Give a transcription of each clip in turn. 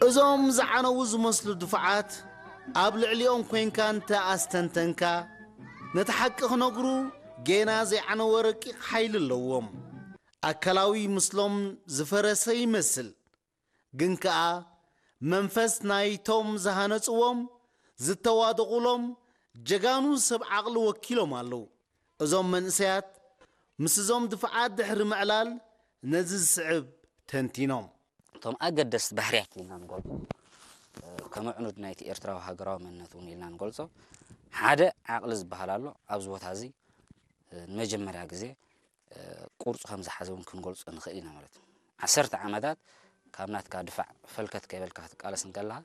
እዞም ዝዓነዉ ዝመስሉ ድፋዓት ኣብ ልዕሊኦም ኮይንካ እንተ ኣስተንተንካ፣ ነቲ ሓቂ ክነግሩ ጌና ዘይዓነወ ረቂቕ ሓይሊ ኣለዎም። ኣካላዊ ምስሎም ዝፈረሰ ይመስል፣ ግን ከኣ መንፈስ ናይቶም ዝሃነጽዎም፣ ዝተዋደቑሎም ጀጋኑ ሰብ ዓቕሊ ወኪሎም ኣለዉ። እዞም መንእሰያት ምስ እዞም ድፋዓት ድሕሪ ምዕላል ነዚ ዝስዕብ ተንቲኖም። እቶም ኣገደስቲ ባህርያት ኢልና ንገልጾ፣ ከም ኣዕኑድ ናይቲ ኤርትራዊ ሃገራዊ መንነት እውን ኢልና ንገልጾ፣ ሓደ ዓቕሊ ዝበሃል ኣሎ። ኣብዚ ቦታ እዚ ንመጀመርያ ግዜ ቅርጹ ከም ዝሓዘ እውን ክንገልጾ ንኽእል ኢና ማለት እዩ። ዓሰርተ ዓመታት ካብ ናትካ ድፋዕ ፈልከት ከይበልካ ክትቃለስ እንከለኻ፣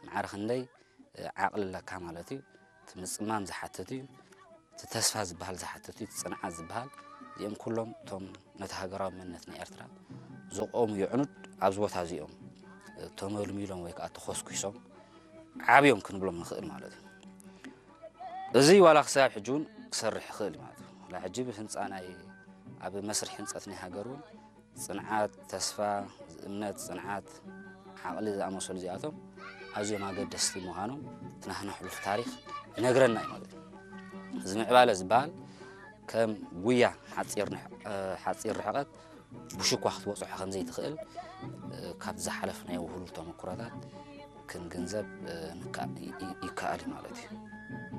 ማዕረ ክንደይ ዓቕሊ ኣለካ ማለት እዩ። እቲ ምጽማም ዝሓትት እዩ። እቲ ተስፋ ዝበሃል ዝሓትት እዩ። እቲ ጽንዓት ዝበሃል፣ እዚኦም ኩሎም እቶም ነቲ ሃገራዊ መንነት ናይ ኤርትራ ዘቆሙ የዕኑድ ኣብዚ ቦታ እዚኦም ተመልሚሎም ወይ ከዓ ተኾስኲሶም ዓብዮም ክንብሎም ንኽእል ማለት እዩ። እዚ ዋላ ክሳብ ሕጂ እውን ክሰርሕ ይኽእል ማለት እዩ። ዋላ ሕጂ ብህንፃ ናይ፣ ኣብ መስርሕ ህንፀት ናይ ሃገር እውን ጽንዓት፣ ተስፋ፣ እምነት፣ ጽንዓት፣ ዓቕሊ ዝኣመሰሉ እዚኣቶም ኣዝዮም ኣገደስቲ ምዃኖም እቲ ናህና ሕሉፍ ታሪኽ ይነግረና እዩ ማለት እዩ። እዚ ምዕባለ ዝበሃል ከም ጉያ ሓጺር ንሕ-፣ እ፣ ሓጺር ርሕቀት ብሽኳ ክትበጽሖ ከም ዘይትኽእል፣ እ፣ ካብ ዝሓለፍናዮ ውህሉል ተመኩሮታት ክንግንዘብ፣ እ፣ ንካ-፣ ይ-፣ ይ-፣ ይከኣል እዩ ማለት እዩ።